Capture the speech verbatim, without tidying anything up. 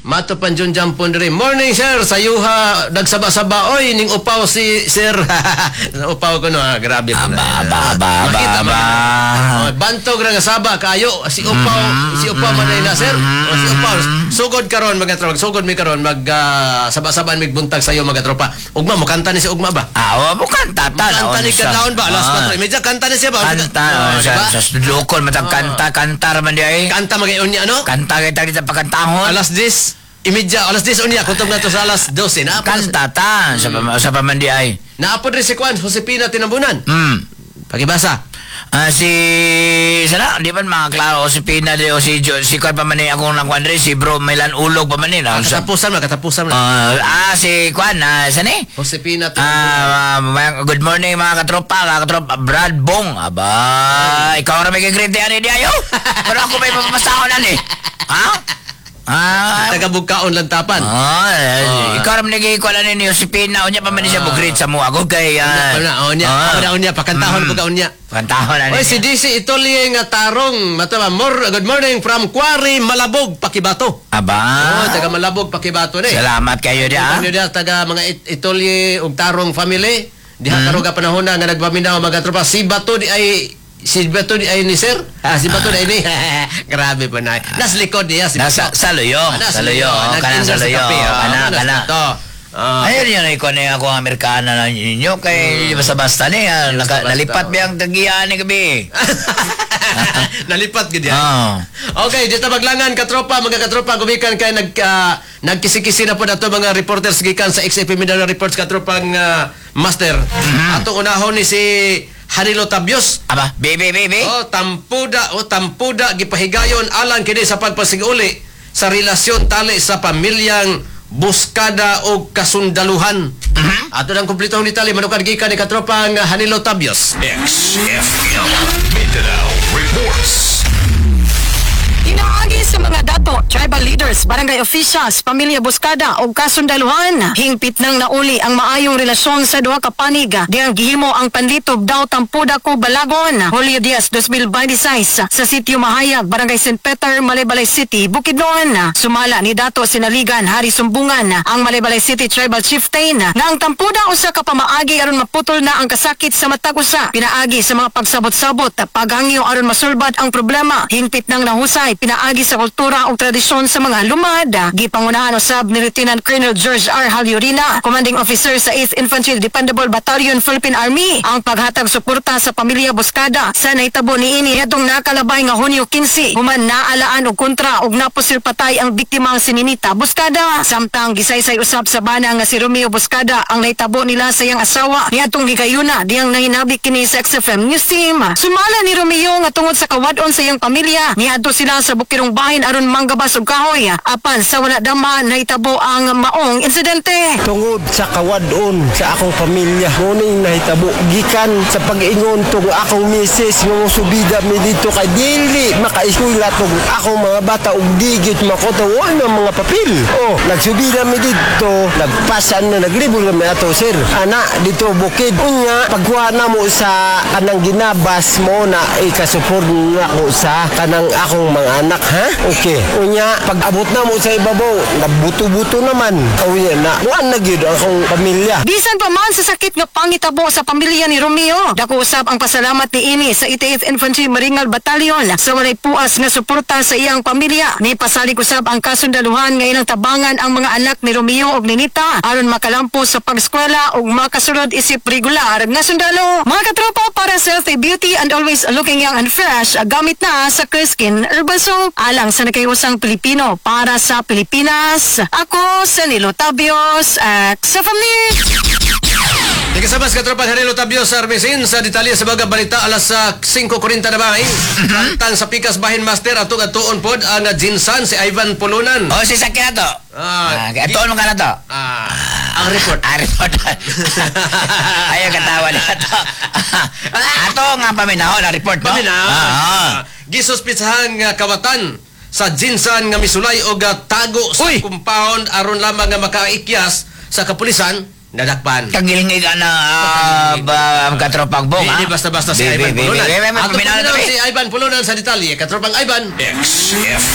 Mato pan Jun Jampon diri. Morning, sir, sayuha nagsaba-saba oy ning upaw si sir. Upaw ko no, ah, grabe po na. Aba, aba, aba, aba, Makita aba. man. Oh, bantog ra nga saba kayo si upaw, si upaw man na, sir. Oh, si upaw. Sugod karon, mga tropa, sugod mi karon mag ah, saba-saban mig buntag sayo, mga tropa. Ugma mo kanta ni si Ugma ba? Ah, wa mo kanta ta. Kanta ni kadlawon ba alas kwatro y medya, kanta ni siya ba? Kanta, Oh, oh, sa diba? Sa lokol matag kanta, kanta raman di ay. Kanta magayon niya, no? Kanta kita dito pagkantahon. Alas diyes y medya, alas diyes unya, kutob na to sa alas dose. Naapod, Kanta ta sa pa, sa paman di ay. Naapod rin si Kwan, Josepina Tinambunan. Hmm. Pakibasa. Ah, si sana di ba mga klaro si Pina di o si Jo, si Kwan pa man ni akong nakuan diri, si Bro Milan Ulog pa man ni na. Sa, Katapusan mo, katapusan mo. Ah, ah, si Kwan ah, sa ni? Josepina Tinambunan. Ah, uh, good morning, mga katropa, mga katropa. Brad Bong. Aba, ikaw ra may gigrite ani di ayo. Pero ako may mapapasahon ani. Ha? Ah, Taga Bugkaon Lantapan. Ah, eh, ikaw ra man nagikuan ani ni Josepina, unya pa man ni siya bugrit sa mo ako kay ah. Unya, unya, ah. unya, unya, pakantahon ko ka unya. Kantahon ani. Oy, si D C Itolie nga tarong, matawa, more, good morning from Quarry, Malabog, Pakibato. Aba. Oh, taga Malabog, Pakibato ni. Salamat kayo di ah. Ano diha, taga mga It- Itolie ug Tarong family. Diha Hmm. karon ka panahon na nga nagpaminaw, mga tropa. Si Bato di ay si Bato di ay ni sir. Ah, si Bato di ay ni. Grabe pa na. Nas likod niya si Nasa Bato. saluyo, Ah, nasa saluyo, likod. kana Nag-endorse sa saluyo, kape, ah. kana Nas kana. Bato. Ah. Ayun yun, ikaw na ako ang Amerikana na ninyo kay basta-basta ni ah, naka, Basta-basta, nalipat oh. biyang tagiyan ni gabi. Nalipat gid yan. Oh. Okay, dito maglangan katropa, mga katropa, gumikan kay nag ah, nagkisi-kisi na po nato mga reporters gikan sa X F M Mindanao Reports, katropang ah, master. Atong unahon ni si Hanilo Tabios. Aba, baby, baby. Oh, tampuda, oh, tampuda gipahigayon alang kini sa pagpasiguli sa relasyon tali sa pamilyang Buskada o kasundaluhan. Ato nang kumpletong detalye manukad gikan ni katropang Hanilo Tabios. X F M Mindanao Reports. Pinaagi sa mga dato, tribal leaders, barangay officials, pamilya Buskada o kasundaluhan, hingpit nang nauli ang maayong relasyon sa duha ka panig. Diyang gihimo ang panlitob daw Tampuda ko Balagon, Julio diyes, dalawang libo dalawampu't sais sa Sitio Mahayag, Barangay Saint Peter, Malaybalay City, Bukidnon. Sumala ni Dato Sinaligan Hari Sumbungan, ang Malaybalay City Tribal Chieftain, nga ang tampuda usa ka pamaagi aron maputol na ang kasakit sa matag usa. Pinaagi sa mga pagsabot-sabot, paghangyo aron masulbad ang problema. Hingpit nang nahusay pinaagi sa kultura ug tradisyon sa mga lumad. Gipangunahan usab ni Lieutenant Colonel George R. Halyurina, Commanding Officer sa eighth Infantry Dependable Battalion, Philippine Army, ang paghatag suporta sa pamilya Buskada sa nahitabo niini adtong nakalabay nga Hunyo kinse, human naalaan og kontra og napusil patay ang biktimang si Ninita Buskada. Samtang gisaysay usab sa bana nga si Romeo Buskada ang nahitabo nila sa iyang asawa niadtong higayuna diyang nahinabik kini sa X F M News Team. Sumala ni Romeo nga tungod sa kawadon sa iyang pamilya, niadto sila sa bukirong bahin aron manggabas og kahoy. Apan sa wala dama nahitabo ang maong insidente. Tungod sa kawadon sa akong pamilya, nguning nahitabo gikan sa pag-ingon tong akong misis nga mosubida mi dito kay dili makaeskwela tong akong mga bata ug digit makuta wa na mga papel. Oh, nagsubida mi dito, nagpasan na naglibol na mi ato, sir, ana dito bukid. Unya pagkuha na mo sa kanang ginabas mo na ikasupport nako sa kanang akong mga anak, ha. Okay, unya pag abot na mo sa ibabaw, nagbuto-buto naman. Unya na kuan na gyud akong pamilya. Bisan pa man sa sakit nga pangitabo sa pamilya ni Romeo, dako usab ang pasalamat ni ini sa eighty-eighth Infantry Maringal Battalion sa walay puas nga suporta sa iyang pamilya. Ni pasalig usab ang kasundaluhan nga ilang tabangan ang mga anak ni Romeo ug Ninita aron makalampo sa pagskwela ug makasulod isip regular nga sundalo. Mga katropa, para sa healthy beauty and always looking young and fresh, gamit na sa Clear Skin Herbal Soap. Alang sa nakayusang Pilipino para sa Pilipinas. Ako sa Nilo Tabios, X F M News. Di kasabas katropang Hanilo Tabios sa Armesin sa detalye sa mga balita alas sa singko kwarenta na ba eh? Tang sa Pikas Bahin, Master, atong atuon pod ang Jinsan si Ivan Pulunan. Oh, si Sakya to. Ah, Ah, atuon mo ka na to. Ah, ang report. Ah, report. Ayaw katawa na to. Ato nga paminaw na report mo. Paminaw. Ah, ah. Gisuspitsahan nga kawatan sa Jinsan nga misulay og ah, tago sa Uy! compound aron lamang nga makaikyas sa kapulisan, nadakpan. Kagilingig ka na ah, ba, katropang bong, Hindi ah. basta-basta si Bi, Ivan bi, bi, Pulunan. bi, bi, bi, Ato paminaw na paminaw to, si Ivan Pulunan sa detalye. Katropang Ivan. X F M.